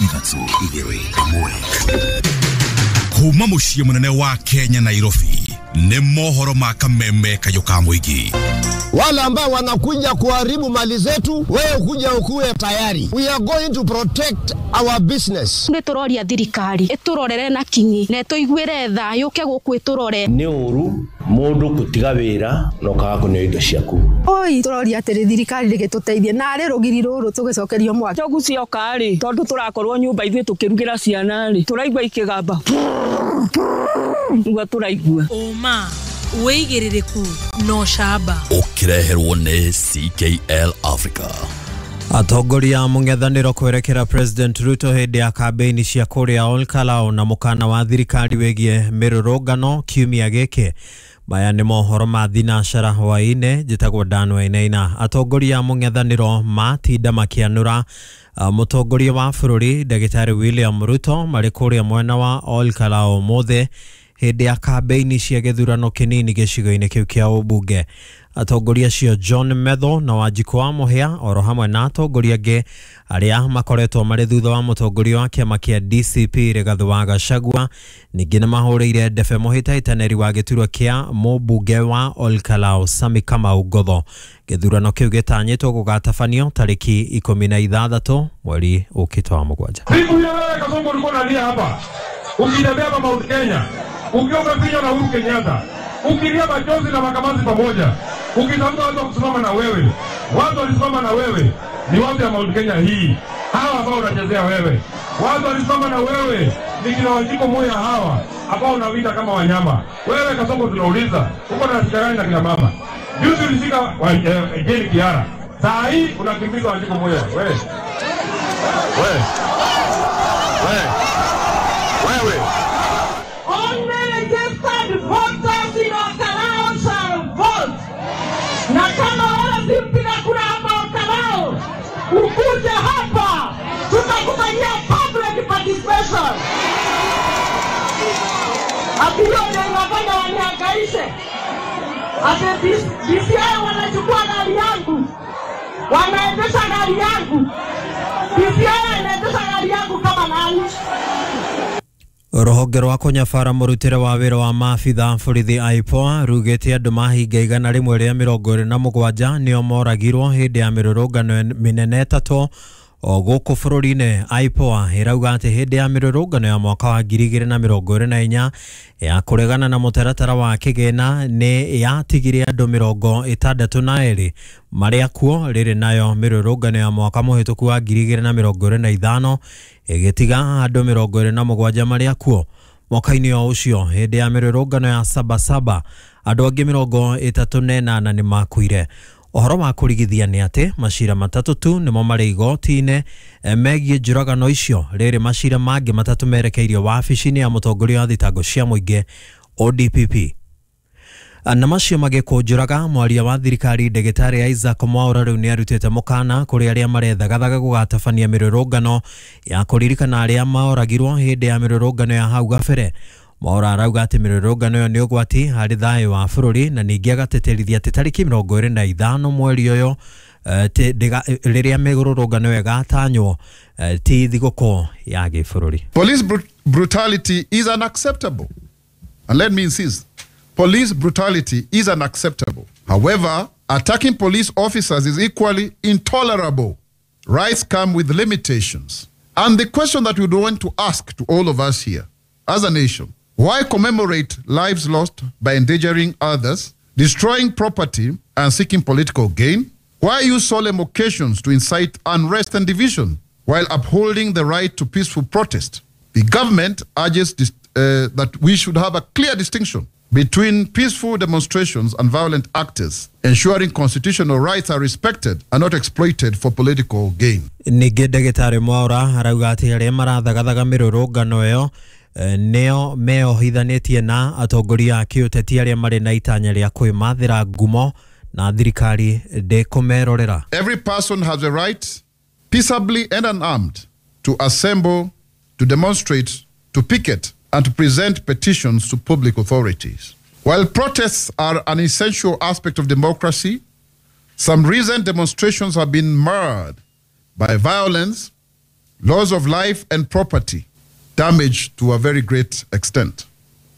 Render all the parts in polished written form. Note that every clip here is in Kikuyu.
Ithatũ, igĩrĩ, ĩmwe. Kuma mũciĩ mũnene wa Kenya, Nairobi, nĩ mohoro ma kameme kayũ ka mũingĩ. Wale ambao wanakuja kuharibu mali zetu, wewe kuja ukuwe tayari. We are going to protect our business. Nĩ tũroria thirikari ĩtũrorere na kinyi na ĩtũiguĩre tha, yũke gũkũ ĩtũrore. Nĩ ũru mũndũ gũtiga wĩra na ũkaga kũneo indo ciaku. Oi, tũroria atĩrĩ, thirikari rĩgĩtũteithie narĩ rũgiri rũrũ tũgĩcokerio mwaki. Njogu cioka rĩ, tondũ tũrakorwo nyũmba ithuĩ tũkĩrugĩra ciana rĩ, tũraigua ikĩgamba nĩguo tũraigua. Ũma, wĩigĩrĩrĩku na ũcamba. Ũkĩreherwo nĩ CKL Africa. Atongoria a mũng'ethanĩro kwerekera President Ruto hĩndĩ ya kambĩini cia kũrĩa Olkalau na mũkana wa thirikari wĩgiĩ mĩrũrũngano kiumia gĩkĩ. Maya nĩ mohoro ma thinacara hwaĩ-inĩ. Njĩtagwo Dan Wainaina. Atongoria a mũng'ethanĩro matinda makĩanũra mũtongoria wa bũrũri Ndagĩtarĩ William Ruto marĩ kũrĩa mwena wa Olkalau ũmũthĩ hĩndĩ ya kambĩini cia gĩthurano kĩnini gĩcigo-inĩ kĩu kĩa ũmbunge. Atongoria acio John Metho na Wanjikũ wa Mũhĩa oro hamwe na atongoria angĩ arĩa makoretwo marĩ thutha wa mũtongoria wa kĩama kĩa DCP Rigathĩ wa Gachagua, ningĩ nĩ mahũrĩire ndebe mũhĩtahĩtanĩri wa gĩturwa kĩa mũmbunge wa Olkalau Sami Kamau Ngotho. Gĩthurano kĩu gĩtanyĩtwo gũgatabanio tarĩki 16 mweri ũkĩte wa mũgwanja. Siku hiyo wewe Kasongo ulikuwa unalia hapa ukitembea hapa Mount Kenya, ukiwa umefinywa na Uhuru Kenyatta, ukilia machozi na makamazi pamoja, ukitafuta watu wa kusimama na wewe. Watu walisimama na wewe ni watu ya Mount Kenya hii, hawa ambao unachezea wewe. Watu walisimama na wewe ni kina Wanjiko Muya hawa ambao unawinda kama wanyama. Wewe Kasongo, tunauliza, uko na shida gani na kina mama? Juzi ulishika Jane Kiara, saa hii unakimbiza Wanjiko Muya. Wewe wewe wewe wewe. Only registered voters in Olkalau shall vote. Na kama wewe si mpiga kura hapa Olkalau, ukuje hapa, tutakufanyia public participation. Ati hiyo ndio inafanya wanihangaishe. Ati DCI wanachukua gari yangu, wanaendesha gari yangu. DCI anaendesha gari yangu kama nani? Rũhonge rwa kũnyabara mũrutĩre wa wĩra wa maabitha borithi IPOA rugĩte andũ mahinga 127 nĩo moragirwo hĩndĩ ya mĩrũrũngano mĩnene ĩtatũ o gũkũ bũrũri-inĩ. IPOA ĩrauga atĩ hĩndĩ ya mĩrũrũngano ya mwaka wa 2024 ya kũregana na mũtaratara wa kĩgĩna nĩ yatigire andũ 62 marĩa kuo, rĩrĩ nayo mĩrũrũngano ya mwaka mũhĩtũku wa 2025 ĩgĩtiga andũ 27 marĩa kuo. Mwaka-inĩ o ũcio hĩndĩ ya mĩrũrũngano ya Sabasaba andũ angĩ 38 nĩ makuire. Ũhoro wa kũrigithia nĩ atĩ macira matatũ tu nĩmo marĩ igoti-inĩ megiĩ njũragano icio, rĩrĩ macira mangĩ matatũ merekeirio wabici-inĩ ya mũtongoria wa thitango cia mũingĩ ODPP. Na macio magĩkũnjũraga, mwaria wa thirikari Ndagĩtarĩ Isaac Mwaura rĩu nĩ arutĩte mũkana kũrĩ arĩa marethagathaga gũgatabania mĩrũrũngano ya kũririkana arĩa maoragirwo hĩndĩ ya mĩrũrũngano ya hau gabere. Mwaura arauga atĩ mĩrũrũngano ĩyo nĩ ũgwati harĩ thayũ wa bũrũri, na ningĩ agatĩtĩrithia atĩ tarĩki 25 mweri ũyũ rĩrĩa mĩrũrũngano ĩyo ĩgatanywo ti thigũkũ ya gĩbũrũri. Police brutality is unacceptable. And let me insist, police brutality is unacceptable. However, attacking police officers is equally intolerable. Rights come with limitations. And the question that we would want to ask to all of us here, as a nation, why commemorate lives lost by endangering others, destroying property, and seeking political gain? Why use solemn occasions to incite unrest and division while upholding the right to peaceful protest? The government urges that we should have a clear distinction between peaceful demonstrations and violent actors, ensuring constitutional rights are respected and not exploited for political gain. Ningĩ Ndagĩtarĩ Mwaura arauga atĩ arĩa marathagathaga mĩrũrũngano ĩyo nĩo meohithanĩtie na atongoria a kĩũteti arĩa marĩ na itanya rĩa kwĩmathĩra ngumo na thirikari ndĩkũmerorera. Every person has a right, peaceably and unarmed, to assemble, to demonstrate, to picket, and to present petitions to public authorities. While protests are an essential aspect of democracy, some recent demonstrations have been marred by violence, Loss of life and property damage to a very great extent.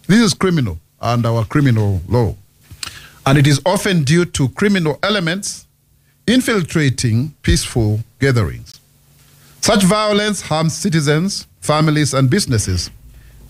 This is criminal under our criminal law. And it is often due to criminal elements infiltrating peaceful gatherings. Such violence harms citizens, families, and businesses,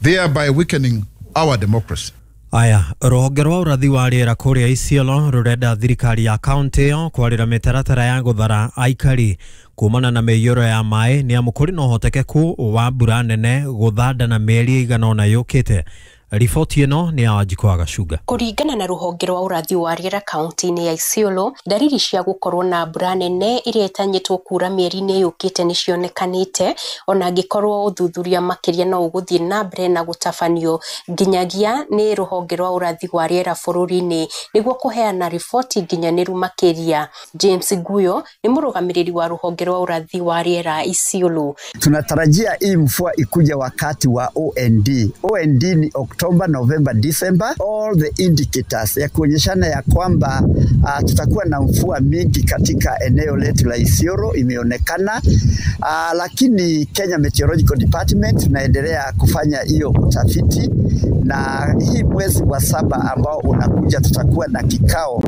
thereby weakening our democracy. Aya, rũhonge rwa ũrathi wa rĩera kũrĩa Isiolo rũrenda thirikari ya kaunti ĩyo kwarĩra mĩtaratara ya gũthara aikari kumana na mĩiyũro ya maĩ nĩ amu kũrĩ na ũhotekeku wa mbura nene gũthanda na mĩeri ĩigana ũna yũkĩte. Riboti ĩno nĩ ya Wanjikũ wa Gacunga. Kũringana na rũhonge rwa ũrathi wa rĩera kaunti-inĩ ya Isiolo, ndariri cia gũkorwo na mbura nene ĩrĩa ĩtanyĩtwo kuura mĩeri-inĩ yũkĩte nĩ cionekanĩte, ona angĩkorwo ũthuthuria makĩria no ũgũthiĩ na mbere na gũtabanio nginyagia nĩ rũhonge rwa ũrathi wa rĩera bũrũri-inĩ nĩguo kũheana riboti nginyanĩru makĩria. James Guyo nĩ mũrũgamĩrĩri wa rũhonge rwa ũrathi wa rĩera Isiolo. Tunatarajia hii mvua ikuja wakati wa OND. OND ni Oktoba, November, December. All the indicators ya kuonyeshana ya kwamba tutakuwa na mvua mingi katika eneo letu la Isiolo imeonekana. Lakini Kenya Meteorological Department tunaendelea kufanya hiyo utafiti, na hii mwezi wa 7 ambao unakuja tutakuwa na kikao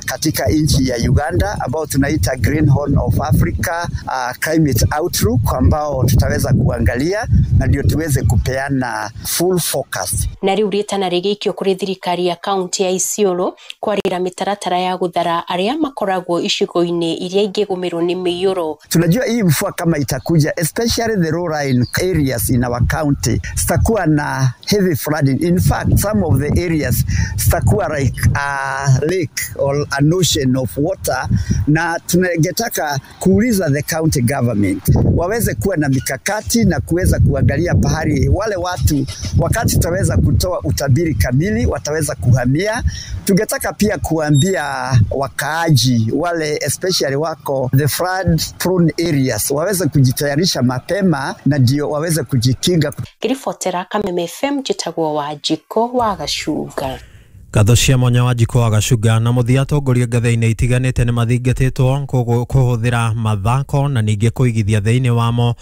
katika nchi ya Uganda ambao tunaita Green Horn of Africa Climate Outlook, ambao tutaweza kuangalia na ndio tuweze kupeana full forecast. Na riu rĩtana rĩgĩikio kũrĩ thirikari ya kaunti ya Isiolo kwarĩra mĩtaratara ya gũthara arĩa makoragwo icigo-inĩ iria ingĩgũmĩrwo nĩ mĩiyũro. Tunajua hii mvua kama itakuja, especially the low lying areas in our county, zitakuwa na heavy flooding. In fact, some of the areas zitakuwa like a lake or an ocean of water, na tungetaka kuuliza the county government waweze kuwa na mikakati na kuweza kuangalia pahali wale watu, wakati tutaweza kutoa utabiri kamili wataweza kuhamia. Tungetaka pia kuambia wakaaji wale especially wako the flood prone areas waweze kujitayarisha mapema na ndio waweze kujikinga. Ngiribotera Kameme FM, njĩtagwo Wanjikũ wa Gacunga. Ngatho cia mwanya Wanjikũ wa Gacunga. Na mũthia atongoria ngathĩ-inĩ itiganĩte nĩ mathingatĩtwo kũhũthĩra mathako na ningĩ kũigithia thĩinĩ wamo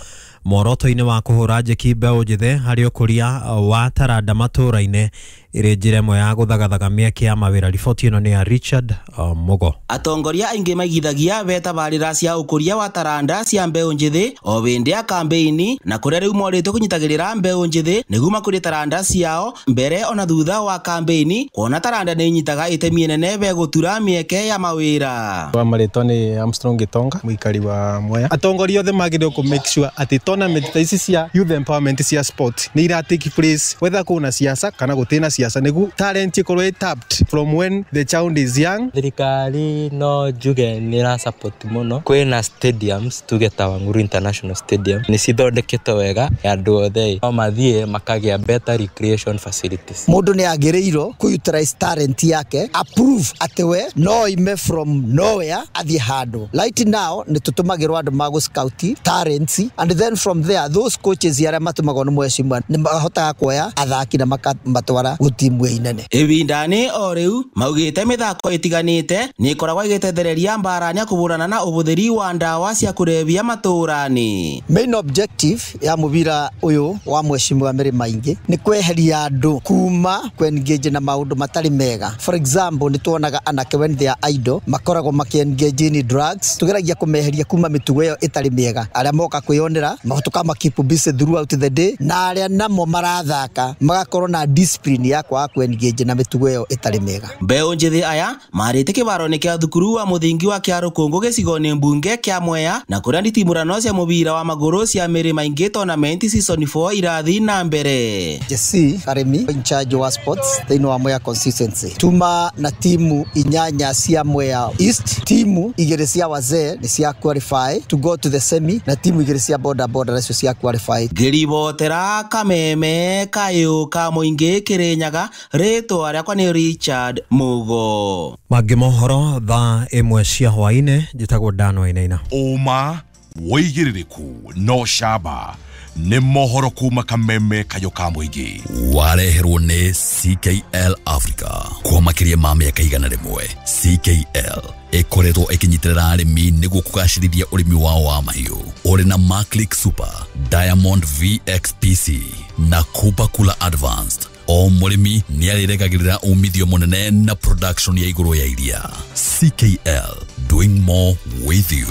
muoroto-inĩ wa kũhũra njeki mbeũ njĩthĩ harĩ ũkũria wa taranda matũũra-inĩ ĩrĩ njĩra ĩmwe ya gũthagathaga mĩeke ya mawĩra. Riboti ĩno nĩ ya Richard Mugo. Atongoria aingĩ maigithagia betabarĩra cia ũkũria wa taranda cia mbeũ njĩthĩ o hĩndĩ ya kambeini, na kũrĩa rĩu morĩtwo kũnyitagĩrĩra mbeũ njĩthĩ nĩguo makũrie taranda ciao mbere ona thutha wa kambeini, kuona taranda nĩ inyitaga itemi inene begũtura mĩeke ya mawĩra. Wa marĩtwa nĩ Armstrong Gitonga, mũikari wa Mwea. Atongoria othe magĩrĩirwo kũ make sure atĩ tournament ta ici cia youth empowerment cia sport nĩ ira take place whether kwĩna siasa kana gũtirĩ na siasa, nĩguo talent ĩkorwo ĩ tapped from when the child is young. Thirikari no njuge nĩ ĩra support mũno. Kwĩna stadiums tuge ta Wang'uru International Stadium nĩ cithondeketwo wega, andũ othe no mathiĩ makagĩa better recreation facilities. Mũndũ nĩ agĩrĩirwo kũ utilize talent yake, approve atĩ we no ime from nowhere athiĩ handũ. Right now nĩ tũtũmagĩrwo andũ ma gũ scout talents, and then from there those coaches arĩa matũmagwo nĩ mheshimiwa nĩ mahotaga kuoya athaki na makamatwara gũtimu inene. Ĩbindani o rĩu maugĩte mĩthako ĩtiganĩte nĩ ĩkoragwo ĩgĩtethereria mbarani ya kũhũrana na ũhũthĩri wa ndawa cia kũrebia matũũra-inĩ. Main objective ya mũbira ũyũ wa mheshimiwa Mary Maingi nĩ kweheria andũ kuma kũ-engage na maũndũ matarĩ mega. For example, nĩ tuonaga anake when they are idle makoragwo makĩ-engage in drugs. Tũgeragia kũmeheria kuma mĩtugo ĩyo ĩtarĩ mĩega. Arĩa moka kwĩyonera tũkama keep busy throughout the day, na arĩa namo marathaka magakorwo na discipline ya kwaga kũ-engage na mĩtugo ĩyo ĩtarĩ mĩega. Mbeũ njĩthĩ aya marĩte kĩbaro-inĩ kĩa thukuru wa mũthingi wa Kĩarũkũngũ gĩcigo-inĩ mbunge kĩa Mwea, na kũrĩa nditimũrano cia mũbira wa magũrũ cia Mĩrĩ Maingĩ tournament season 4 irathiĩ na mbere. Jesse Karemi in charge wa sports thĩinĩ wa Mwea constituency. Tuma na timu 8 cia Mwea East, timu 2 cia wazee nĩ cia qualify to go to the semi, na timu 2 cia boda boda nacio cia qualify. Ngĩribotera Kameme kayũ ka mũingĩ Kĩrĩnyaga, rĩtwa rĩakwa nĩ Richard Mugo. Mangĩ mohoro thaa 1 cia hwaĩ-inĩ, njĩtagwo Dan Wainaina. Ũma wĩigĩrĩrĩku no camba. Nĩ mohoro kuma kameme kayo ka mũingĩ. Wareherwo nĩ CKL Africa. Kwa makĩria ma mĩaka 100, CKL ĩkoretwo ĩkĩnyitĩrĩra arĩmi nĩguo kũgacĩrithia ũrĩmi wao wa mahiũ. Ũrĩ na Maclick Super, Diamond VXPC na Cooper Cooler Advanced. O mũrĩmi nĩ arĩregagĩrĩra umithio mũnene na production ya igũrũ ya iria. CKL, doing more with you.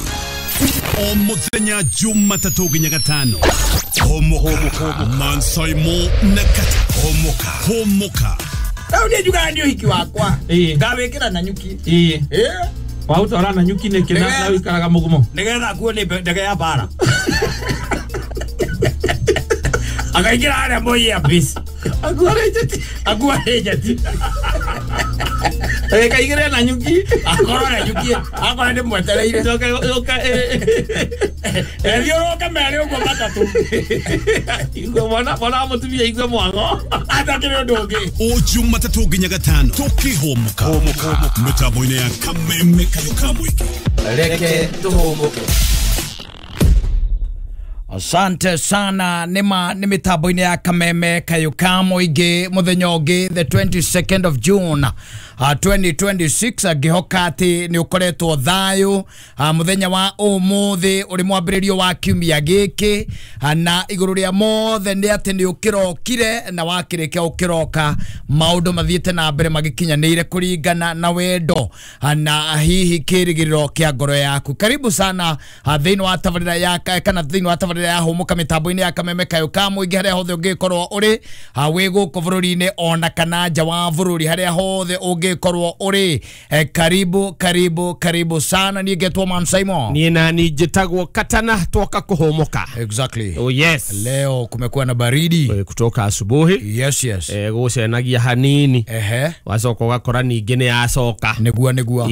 O mũthenya Jumatatũ nginya Gatano. Homoka, Mansaimo na Kata. Homoka, homoka. Rĩu niĩ njugaga nĩ ũhiki wakwa. Ngawĩkĩra na nyuki. Waũtwara na nyuki nĩkĩ na ũikaraga mũgumo? Nĩgetha akuo nĩ ndege ya mbara. Akaingĩra harĩa Moi Air Base. Akuo arĩ njeti. Kaigĩre na nyuki. Akorwo na nyuki, akorwo nĩ mwetereire. Ethiũrũke merĩ ũguo matatũ. Igwe mwana wa mũtumia igwe mwago. Atakĩrĩ ũndũ ũngĩ. O Jumatatũ nginya Gatano tũkĩhũmũka mĩtambo-inĩ ya kameme kayo ka mũingĩ. Reke tũhũmũke. Asante sana nima ni mitambo-inĩ ya kameme kayo ka mũingĩ mũthenya ũngĩ the 22nd of June 2026 ngĩhoka atĩ nĩ ũkoretwo thayũ mũthenya wa ũmũthĩ ũrĩ mwambĩrĩrio wa kiumia gĩkĩ na igũrũ rĩa mothe nĩ atĩ nĩ ũkĩrokire na wakĩrĩkia ũkĩroka maũndũ mathiĩte na mbere magĩkinyanĩire kũringana na wendo na hihi kĩrĩgĩrĩro kĩa ngoro yaku. Karibu sana thĩinĩ wa tabarĩra ya kana thĩinĩ wa tabarĩra ya hũmũka mĩtambo-inĩ ya kameme kayo ka mũingĩ harĩa hothe ũngĩkorwo ũrĩ wĩ gũkũ bũrũri-inĩ ona kana nja wa bũrũri harĩa hothe ũngĩkorwo ũrĩ. Karibu karibu karibu sana. Niĩ ngetwo Man Simon. Niĩ nani njĩtagwo Katana twoka kũhũmũka. Exactly. Oh yes. Leo kumekuwa na baridi kutoka asubuhi. Yes yes. Gũcenagia hanini. Ehe. Wacoka ũgakora ningĩ nĩ yacoka. Nĩguo nĩguo.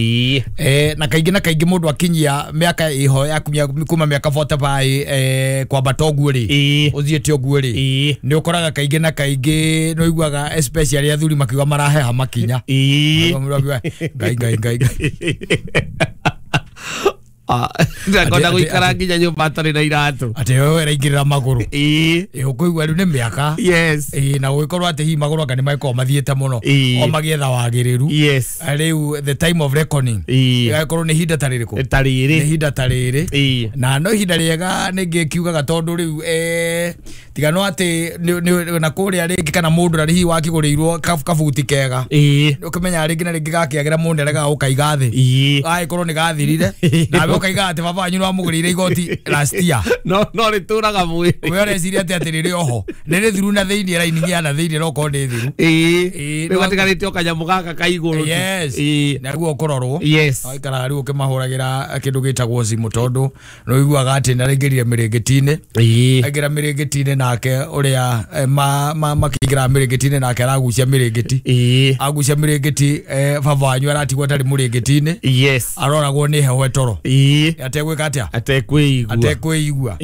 Na kaingĩ na kaingĩ mũndũ akinyia mĩaka ĩho ya kuma mĩaka 45 kwambata ũguo rĩ ũthiĩte ũguo rĩ nĩ ũkoraga kaingĩ na kaingĩ nĩ ũiguaga especially athuri makiuga maraheha makinya. Ngai ngai ngai. Ndakonda gũikara nginya nyũmba atarĩ na iratũ. Atĩ wewe ũraingĩrĩra magũrũ. Ũkũigua rĩu nĩ mĩaka. Yes. Na gũgĩkorwo atĩ hihi magũrũ anga nĩ magĩkorwo mathiĩte mũno o magĩetha wagĩrĩru. Yes. Rĩu the time of reckoning ĩgagĩkorwo nĩ ihinda ta rĩrĩkũ? Ta rĩrĩ. Nĩ ihinda ta rĩrĩ. Na no ihinda rĩega nĩngĩkiugaga tondũ rĩu tiga no atĩ na kũrĩa rĩngĩ kana mũndũ ũrĩa hihi wakĩgũrĩirwo kabuti kega. Ũkĩmenya rĩngĩ na rĩngĩ gakĩagĩra mũndũ aregaga gũkaiga thĩ. Gagĩkorwo nĩ gathirire. Nawe ũkaiga atĩ baba wanyu nĩwamũgũrĩire igoti last year. No rĩtũraga mwĩrĩ. We ũreciria atĩ atĩ rĩrĩ oho. Nĩ rĩthiru na thĩinĩ raini ya na thĩinĩ no korwo nĩ thiru. Rĩu gatigarĩte o kanyamũ gaka ka igũrũ. Yes. Naguo ũkũrorwo. Yes. Waikaraga rĩu ũkĩmahũragĩra kĩndũ gĩtagwo thimũ tondũ nĩ ũiguaga atĩ nĩaraingĩrire mĩrĩngĩti-inĩ. Aingĩra mĩrĩngĩti-inĩ nake ũrĩa makĩingĩra mĩrĩngĩti-inĩ nake aragucia mĩrĩngĩti. Agucia mĩrĩngĩti baba wanyu aratigwo atarĩ mũrĩngĩti-inĩ. Yes. Aroragwo nĩ heho ĩtoro. Ategwĩka atĩa? Atekwĩigua.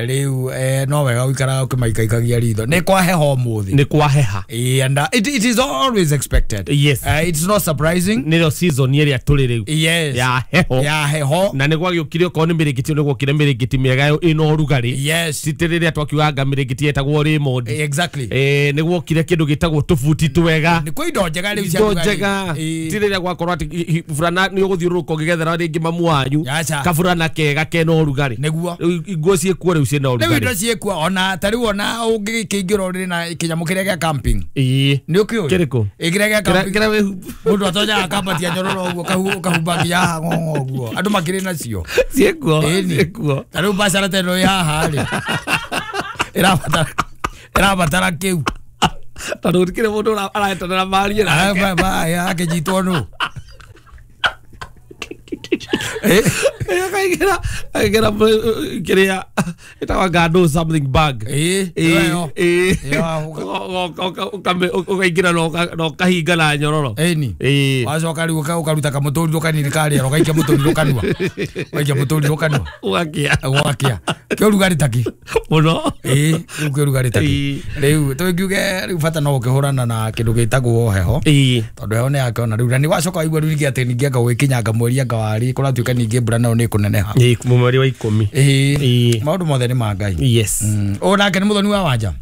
Rĩu no wega ũikaraga ũkĩmaikaikagia ritho. Nĩ kwa heho ũmũthĩ. Nĩ kwa heha. And it is always expected. Yes. It's not surprising. Nĩrĩo season ĩrĩa tũrĩ rĩu. Yes. Ya heho. Ya heho. Na nĩ gwagĩũkire okorwo nĩ mĩrĩngĩti nĩ gwokire mĩrĩngĩti mĩega ĩna ũrugarĩ. Yes. Ti rĩrĩa twakiugaga mĩrĩngĩti yetagwo Raymond. Exactly. Nĩ gwokire kĩndũ gĩtagwo tũbuti twega. Nĩ kwĩ indo njega rĩu cia indo njega. Ti rĩrĩa gwakorwo atĩ burana nĩ ũgũthiũrũrũka ũgĩgethera rĩngĩ mamu wanyu. Kaburana kega kena ũrugarĩ. Nĩguo. Nguo ciĩkuo rĩu ciĩna ũrugarĩ. Rĩu indo ciĩkuo ona ta rĩu ona ũngĩkĩingĩra ũrĩ na kĩnyamũ kĩrĩa gĩa camping. Nĩ ũkĩũĩ? Kĩrĩkũ? Kĩrĩa gĩa camping. Mũndũ atonyaga akambatia nyororo ũguo ũkahumba nginya haha ng'ong'o ũguo. Andũ makĩrĩ nacio. Ciĩkuo. Ciĩkuo. Ta rĩu biacara ta ĩno ĩ haha rĩ. Ĩrabatara kĩu. Tondũ gũtikĩrĩ mũndũ arahetanĩra marie nake. Akĩnyitwo nũ? Akaingĩra kĩrĩa ĩtagwo ngandũ something bag. Ũkaingĩra na ũkahinga na nyororo. Ĩni. Wacoka rĩu ũkaruta kamũtũrirũ kanini karĩera ũgaikia mũtũrirũ kanua. Ũgaikia mũtũrirũ kanua. Ũgakia. Ũgakia. Kĩũrugarĩ takĩ. Mũno. Rĩu kĩũrugarĩ takĩ. Rĩu tũngiuge rĩu bata no ũkĩhũrana na kĩndũ gĩtagwo heho. Tondũ heho nĩ yakĩona rĩu na nĩ wacoka waigua rĩu ningĩ atĩ ningĩ anga gwĩkinyanga mweri anga warĩ kũratuĩka gũtuĩka ningĩ mbura nayo nĩ ĩkũneneha. Mweri wa 10. Ĩĩ, maũndũ mothe nĩ ma Ngai. Yes. O nake nĩ Mũthoni wa Wanja.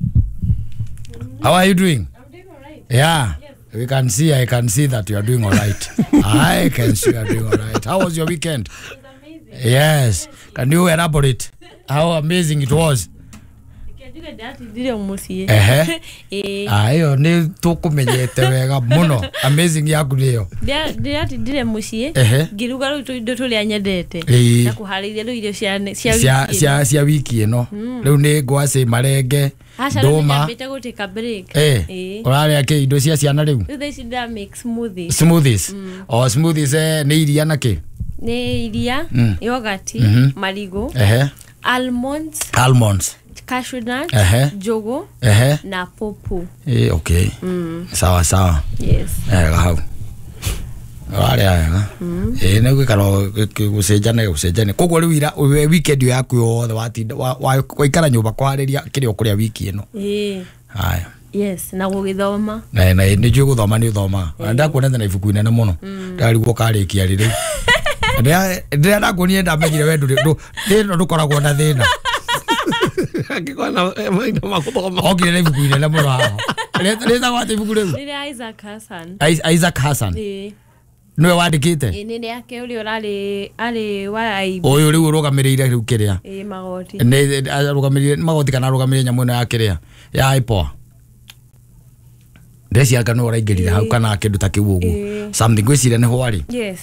How are you doing? I'm doing all right. Yeah. Yes. We can see, I can see that you are doing all right. I can see you are doing all right. How was your weekend? It was amazing. Yes. Can you elaborate how amazing it was? Ehe. Ayo nĩ tũkũmenyete wega mũno. Amazing yaku nĩyo. Ndiratindire mũciĩ ngĩruga rĩu tũindo tũrĩa nyendete na kũharĩria rĩu irio cia wiki ĩno. Rĩu nĩ ngwacĩ, marenge, ndũma. Nyambĩte gũtĩka break. Ũrarĩa kĩ indo cia ciana rĩu? Rĩu thaa ici ndĩra make smoothies. Smoothies. O smoothies nĩ iria na kĩ? Nĩ iria, yogurt, marigũ, almonds, almonds, cashew nuts, njugu na popo. Okay. Sawa sawa. Yes. Hau. Ũrarĩa wega. Nĩ gwĩkara gũcenjania gũcenjania. Koguo rĩu ira weekend yaku yothe watinda waikara nyũmba kwarĩria kĩrĩa ũkũrĩa wiki ĩno. Haya. Yes, na gũgĩthoma. Na nĩ njũĩ gũthoma nĩ ũthomaga. Ndakuonete na ibuku inene mũno. Ndarigwo ũkarĩkia rĩ rĩu. Ndĩrĩa ndakuonire ndamenyire we ndũrĩ thĩna ndũkoragwo na thĩna. Okire na ibuku inene mũno haha. Rĩtagwo atĩa ibuku rĩu? Nĩ rĩa Isaac Hassan. Isaac Hassan. Nĩwe wandĩkĩte? Nĩ rĩake ũrĩa ũrarĩ arĩ wa IB. Ũyũ rĩu ũrũgamĩrĩire rĩu kĩrĩa? Magoti. Nĩ arũgamĩrĩire magoti kana arũgamĩrĩire nyamũ ĩno ya kĩrĩa? Ya IPOA. Ndeciria nĩwe ũraingĩrire hau kana kĩndũ ta kĩu ũguo. Something ngwĩciria nĩ hwarĩ. Yes.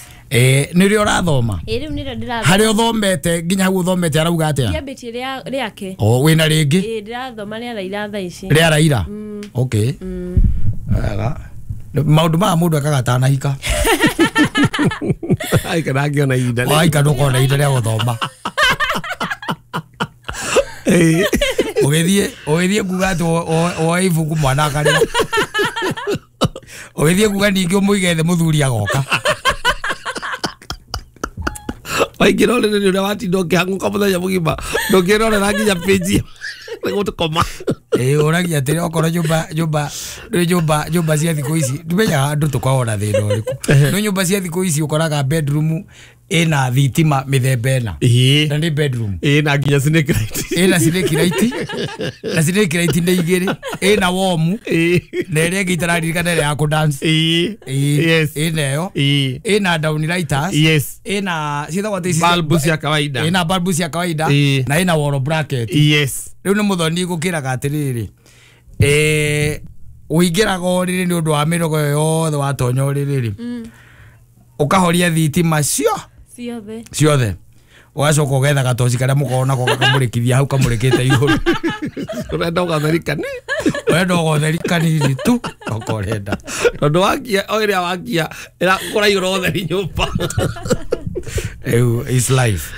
Nĩ rĩo ũrathoma? Rĩu nĩrĩo ndĩrathoma. Harĩa ũthomete nginya hau ũthomete arauga atĩa? Ndiambĩtie rĩake. O wĩna rĩngĩ? Ndĩrathoma rĩa Raila thaa ici. Rĩa Raila? Okay. Wega. Maũndũ maya mũndũ ekaga atanahika. Aika ndangĩona ihinda. Waika ndũkona ihinda rĩa gũthoma. Ũgĩthiĩ kuga atĩ woe ibuku mwana akarĩa. Ũgĩthiĩ kuga ningĩ ũmũige thĩ mũthuri agoka. Waingĩra ũrĩrĩ nĩ ũrĩa watinda ũkĩhang'ũka mũthenya mũgima ndũngĩrorera nginya page nĩguo tũkoma. Ũragia atĩrĩ okorwo nyũmba nyũmba cia thikũ ici ndimenyaga andũ tũkoragwo na thĩna ũrĩkũ. No nyũmba cia thikũ ici ũkoraga bedroom ĩna thitima mĩthemba ĩna. Na nĩ bedroom. Ĩna nginya snake light. Ĩna snake light. Na snake light nĩ igĩrĩ. Ĩna warm. Na ĩrĩa ĩngĩ itararirikana ĩrĩa ya kũ dance. Yes. Ĩna ĩyo. Ĩna down lighters. Yes. Ĩna ciĩtagwo atĩ ici bulb cia kawaida. Ĩna bulb cia kawaida. Na ĩna wall bracket. Yes. Rĩu nĩ Mũthoni gũkĩraga atĩrĩrĩ. Ũingĩraga ũrĩrĩ nĩ ũndũ wa mĩrogo yothe watonya ũrĩrĩ rĩ. Ũkahoria thitima ciothe ciothe ũgacoka ũgetha gatoci karĩa mũkoragwo nako gakamũrĩkithia hau kamũrĩkĩte igũrũ. Ũrenda ũgatheri kanini. Ũrenda ũgatheri kanini tu oko ũrenda. Tondũ wakia o ĩrĩa wakia kũraiyũra ũtheri nyũmba. Is life.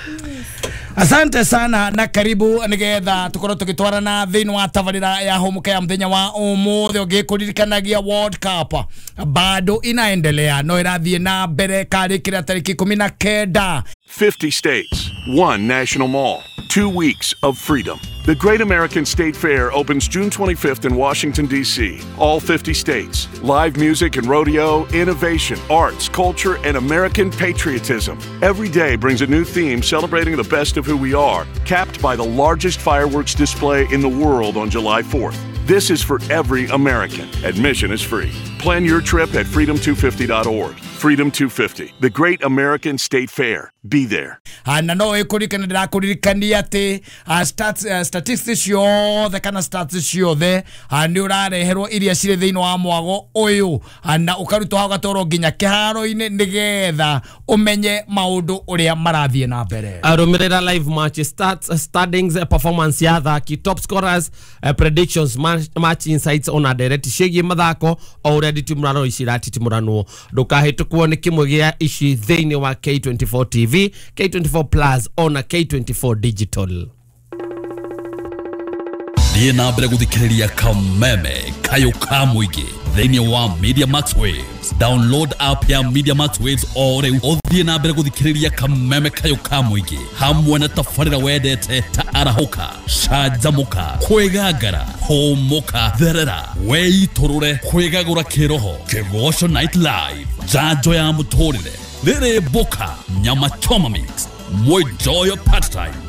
Asante sana na karibu nigetha tukorwo tugitwarana thiini wa tabarira ya humuka ya muthenya wa umuthi ungikuririkanagia World Cup bado inaendelea no irathie na mbere karikira tariki 19. 50 states, one national mall, 2 weeks of freedom. The Great American State Fair opens June 25th in Washington, D.C. All 50 states. Live music and rodeo, innovation, arts, culture, and American patriotism. Every day brings a new theme celebrating the best of who we are, capped by the largest fireworks display in the world on July 4th. This is for every American. Admission is free. Plan your trip at freedom250.org. Freedom 250, the Great American State Fair. Be there. Na no ĩkũririkana ndĩrakũririkania atĩ statistics ciothe kana stats ciothe nĩ ũrareherwo iria cirĩ thĩinĩ wa mwago ũyũ na ũkarutwo hau gatwarwo nginya kĩharo-inĩ nĩgetha ũmenye maũndũ ũrĩa marathiĩ na mbere. Arũmĩrĩra live match stats, standings, performance ya athaki, top scorers, predictions, match insights ona direct ciĩgiĩ mathako o ũrĩa nditimũrano ici iratitimũranwo. Ndũkahĩtũkwo nĩ kĩmwe gĩa ici thĩinĩ wa K24 TV, K24 Plus ona K24 Digital. Thiĩ na mbere gũthikĩrĩria Kameme Kayũ ka Mũingĩ thĩinĩ wa Media Max Waves. Download app ya Media Max Waves o rĩu ũthiĩ na mbere gũthikĩrĩria Kameme Kayũ ka Mũingĩ hamwe na tabarĩra wendete ta arahũka, canjamũka, kwĩgangara, hũmũka, therera, weitũrũre, kwĩgagũra kĩroho, Kĩgoco Night Live, njanjo ya mũtũrĩre, Rĩrĩ mboka nyama choma mix. Mwenjoyo part time.